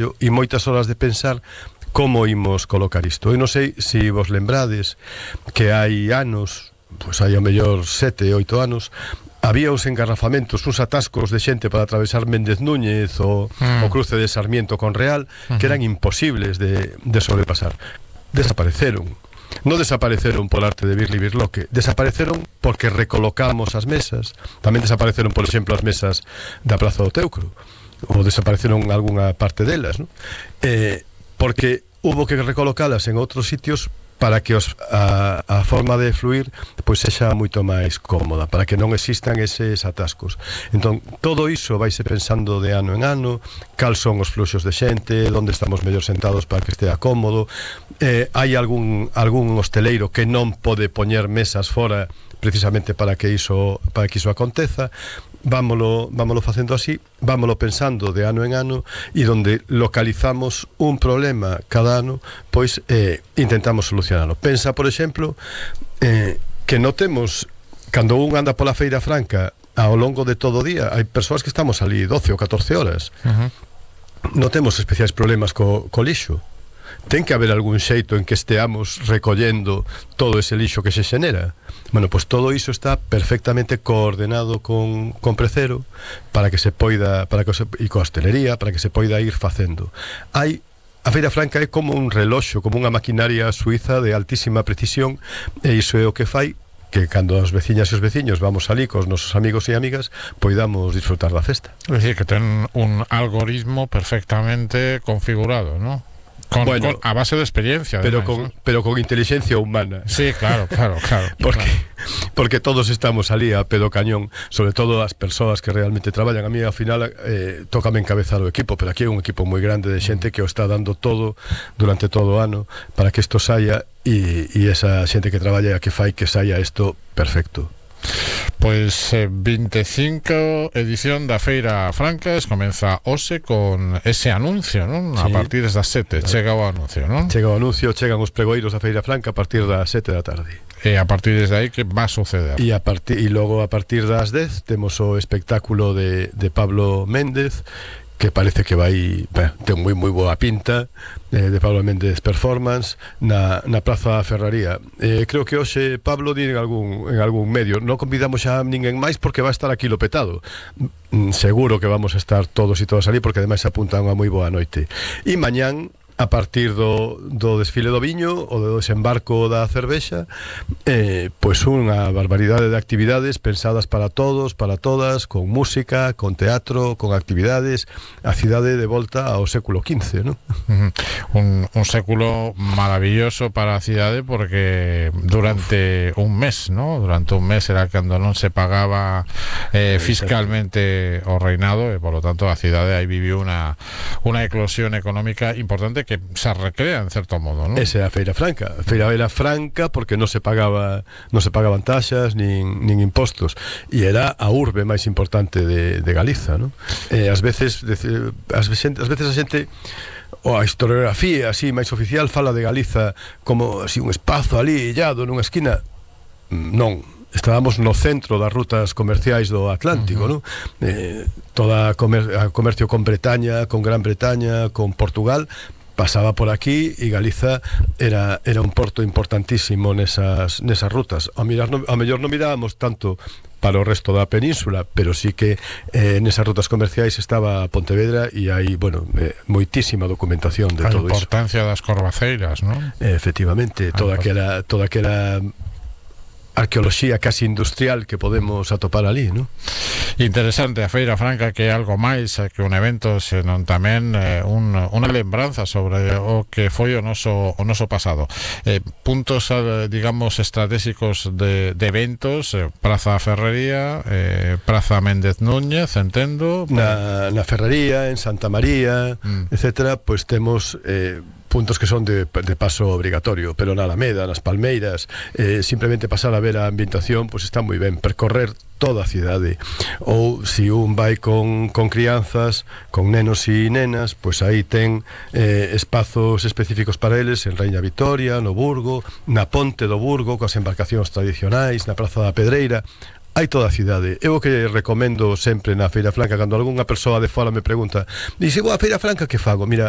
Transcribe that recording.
e moitas horas de pensar como imos colocar isto. Eu non sei se vos lembrades que hai anos, pois hai ao mellor 7, 8 anos, había uns engarrafamentos, uns atascos de xente para atravesar Méndez Núñez o cruce de Sarmiento con Real, que eran imposibles de sobrepasar. Desapareceron. Non desapareceron por arte de Birli Birloque, desapareceron porque recolocamos as mesas. Tamén desapareceron, por exemplo, as mesas da Praza do Teucro, ou desapareceron algunha parte delas, ¿no? Porque hubo que recolocalas en outros sitios para que a forma de fluir pois sexa moito máis cómoda, para que non existan eses atascos. Entón, todo iso vaise pensando de ano en ano, cal son os fluxos de xente, onde estamos mellor sentados para que estea cómodo. Hai algún hosteleiro que non pode poñer mesas fora precisamente para que iso aconteza. Vámolo facendo así, vámolo pensando de ano en ano, e donde localizamos un problema cada ano, pois intentamos solucionarlo. Pensa, por exemplo, que notemos, cando un anda pola Feira Franca ao longo de todo o día, hai persoas que estamos ali 12 ou 14 horas. Notemos especiais problemas co lixo. Ten que haber algún xeito en que esteamos recollendo todo ese lixo que se xenera. Bueno, pois todo iso está perfectamente coordenado con Precero para que se poida, e coa hostelería, para que se poida ir facendo. A Feira Franca é como un reloxo, como unha maquinaria suiza de altísima precisión, e iso é o que fai que cando as veciñas e os veciños vamos ali cos nosos amigos e amigas, poidamos disfrutar da festa. É dicir, que ten un algoritmo perfectamente configurado, ¿no? Con a base de experiencia, pero además, pero con inteligencia humana. Sí, claro. Porque todos estamos ali a pedo cañón, sobre todo as persoas que realmente traballan. A mí, ao final, tócame encabezar o equipo, pero aquí é un equipo moi grande de xente que o está dando todo durante todo o ano para que isto saia, e esa xente que traballa que fai que saia isto perfecto. Pois 25 edición da Feira Francas comeza hoxe con ese anuncio, non? Sí. A partir das 7 chega o anuncio, non? Chega o anuncio, chegan os pregoeiros da Feira Franca a partir das 7 da tarde. E a partir desde aí que va a suceder? E logo a partir das 10 temos o espectáculo de Pablo Méndez, que parece que vai ten moi boa pinta, de Pablo Méndez Performance na Praza da Ferraría. Creo que hoxe Pablo di en algún medio, non convidamos xa a ninguén máis porque vai estar aquí lo petado. Seguro que vamos a estar todos e todas ali, porque ademais apunta unha moi boa noite. E mañán, a partir do desfile do viño ou do desembarco da cervexa, pois unha barbaridade de actividades pensadas para todos, para todas, con música, con teatro, con actividades, a cidade de volta ao século XV, ¿no? Un século maravilloso para a cidade, porque durante un mes, ¿no? Durante un mes era cando non se pagaba fiscalmente o reinado, e por lo tanto a cidade aí viviu unha eclosión económica importante que se recrea en certo modo, ¿no? Esa é a Feira Franca. A Feira era franca porque non se pagaban taxas nin impostos, e era a urbe máis importante de Galiza, ¿no? Ás veces a xente, ou a historiografía así máis oficial, fala de Galiza como así un espazo ali illado nunha esquina. Non, estábamos no centro das rutas comerciais do Atlántico, ¿no? Toda comercio con Bretaña, con Gran Bretaña, con Portugal, pasaba por aquí, e Galiza era un porto importantísimo nesas rutas. A mellor non mirábamos tanto para o resto da península, pero sí que nesas rutas comerciais estaba Pontevedra, e hai, moitísima documentación de todo iso. A importancia das corvaceiras, non? Efectivamente, toda que era arqueoloxía casi industrial que podemos atopar ali, ¿no? Interesante a Feira Franca, que é algo máis que un evento, senón tamén unha lembranza sobre o que foi o noso pasado. Puntos, digamos, estratégicos de eventos: Praza Ferrería, Praza Méndez Núñez, entendo. Na Ferrería, en Santa María, etcétera, pois temos puntos que son de paso obrigatorio, pero na Alameda, nas Palmeiras, simplemente pasar a ver a ambientación, pois está moi ben. Percorrer toda a cidade, ou se un vai con crianzas, con nenos e nenas, pois aí ten espazos específicos para eles en Raíña Vitoria, no Burgo, na Ponte do Burgo, coas embarcacións tradicionais, na Praza da Pedreira. hai toda a cidade. Eu o que recomendo sempre na Feira Franca, cando algunha persoa de fora me pregunta, dice, vou a Feira Franca, que fago? Mira,